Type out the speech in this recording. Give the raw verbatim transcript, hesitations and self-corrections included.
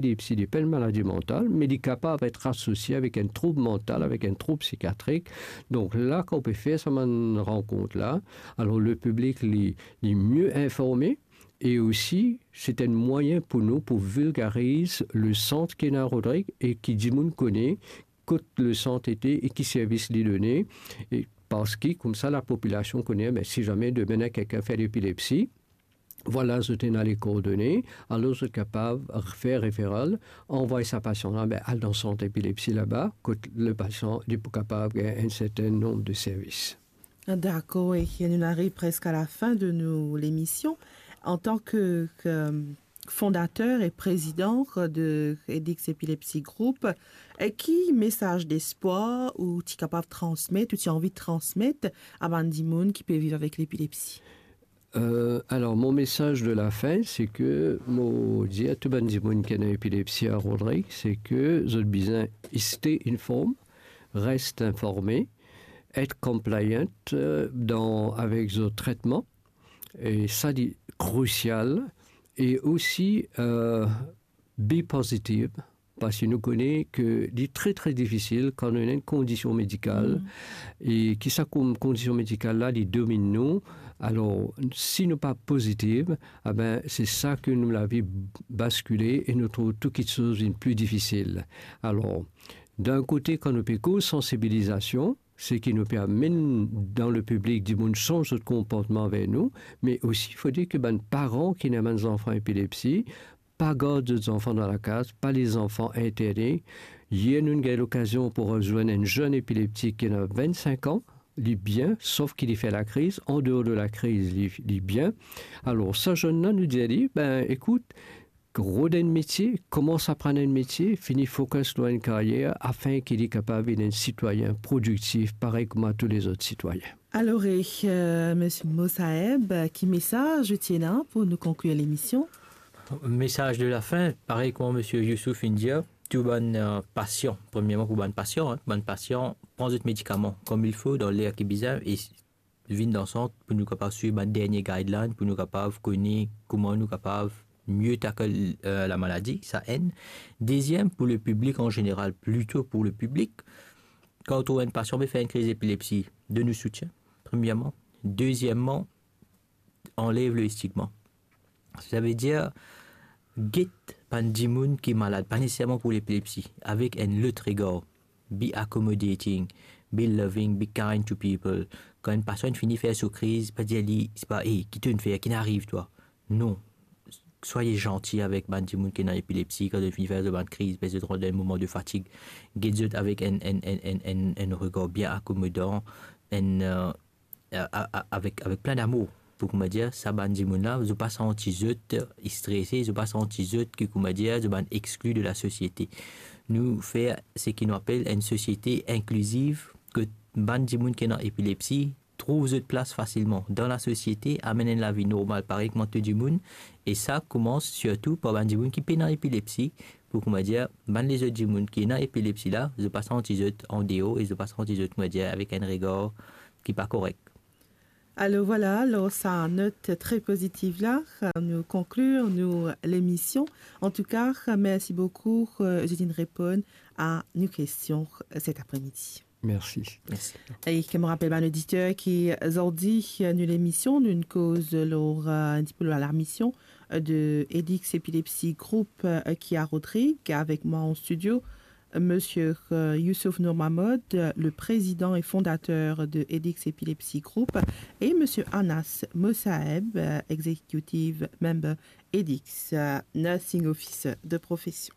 epilepsi li pa enn maladi mantal, me li kapav et asosie avek enn troub mantal, avek enn troub psikiatrik. Donk la, kan ou pe fer sa bann rankont la, alor le piblik li, li mie informe, e osi, se enn mwayin pou nou pou vilgariz le sant ki ena Rodrig e ki dimoun kone kot le sant ete e ki servis li done, e parski koumsa lapopilasion kone, be, si zame demin ena kikenn fer lepilepsi, vwala zot ena le kordone, alor zot kapav fer referal, anvway sa pasian la, be, al dan sant epilepsi laba, kot le pasian li pou kapav gagn enn serten nonb de servis. Dakor, e nou ariv preske a lafin de nou lemision. Antan ke, ke fondater e prezidan de Edix Epilepsy Group, e ki mesaz despwar ou ti kapav transmet, ou ti anvi transmet a bann dimoun ki pe viv avek lepilepsi? Euh, alor, mo mesaz de lafin, se ke mo dir a tou bann dimoun ki ena epilepsi a Rodrig, se ke zot bizin stay informed, res informe, et compliant, euh, dan, avek zot tretman, e sa li krisial, e osi, euh, be positive, parski nou kone ke li tre, tre difisil kan nou ena enn kondision medikal, e ki sa kon-, kondision medikal la, li dominn nou. Alor, si nou pa pozitiv, abe, se sa ke nou lavi baskile e nou trouv tou kiksoz vinn pli difisil. Alor, dan enn kote, kan nou pe koz sansibilizasion, seki nou pe amenn dan lepiblik dimoun sanz zot konportman anver nou, me osi fode ke bann paran ki ena bann zanfan epilepsi, pa gard zot zanfan dan lakaz, pa les zanfan interne. Yer nou gagn lokazion pou rezwenn enn zenn epileptik ki ena vennsenk an, li bien, sof ki li fer lakriz, andeor de lakriz, li, li bien. Alor, sa zenn la, nou dir li, be, ekout, rod enn metie, koumans aprann enn metie, fini fokis lor enn karyer, afin ki li kapav vinn enn sitwayin prodiktif, parey kouma tou lezot sitwayin. Alor, e, euh, Misie Mosaeb, ki mesaz ou ti ena pou nou konklir lemision? Mesaz de lafin, parey kouma Misie Youssouf finn dir, tou bann, euh, pasian, premierman pou bann pasian, hein, bann pasian, pran zot medikaman kouma il fo, dan ler ki bizin, e vinn dan sant pou nou kapav swiv bann dernie guideline, pou nou kapav kone kouma nou kapav mie tackle, euh, lamaladi, sa enn. Deziem, pou lepiblik an zeneral, plito pou lepiblik, kan ou trouv enn pasian pe fer enn kriz epilepsi, donn li soutien, premierman. Dezieman, anlev lestigma. Savedir, get bann dimoun ki malad, pa neseserman pou lepilepsi, avek enn lot regar. Be accommodating, be loving, be kind to people. Kan enn pasian fini fer so kriz, pa dir li, se pa, "Ey, ki to'nn fer, ki'nn ariv twa?" Non. Swaye zanti avek bann dimoun ki ena epilepsi, kan zot fini fer zot bann kriz, pe zot rant dan enn moman de fatig. Get zot avek enn, enn, enn, enn, enn, enn regar bien akomodan, enn, euh, a-, a-, a-, avek, avek plin damour, pou kouma dir, sa bann dimoun la, zot pa santi zot strese, zot pa santi zot ki, kouma dir, zot bann exkli de lasosiete. Nou fer seki nou apel enn sosiete inkliziv, kot bann dimoun ki ena epilepsi trouv zot plas fasilman dan lasosiete, amenn enn lavi normal parey kouma tou dimoun, e sa koumans sirtou par bann dimoun ki pena epilepsi, pou kouma dir, bann lezot dimoun ki ena epilepsi la, zot pa santi zot andeor e zot pa santi zot, kouma dir, avek enn regar ki pa korek. Alor vwala, lor sa not tre pozitiv la, nou konklir nou lemision. Antouka, mersi boukou, euh, zot inn reponn a nou kestion, euh, set apremidi. Mersi. Mersi. E ki mo rapel bann oditer ki zordi, euh, nou lemision, nou'nn koz lor, euh, enn tipe lor lamision, euh, de Edix Epilepsy Group, euh, ki a Rodrig, avek mwa an studio, Monsieur, euh, Youssouf Nour Mahmoud, euh, le président et fondateur de Edix Epilepsy Group, et Monsieur Anas Mosaeb, euh, executive member Edix, euh, nursing officer de profession.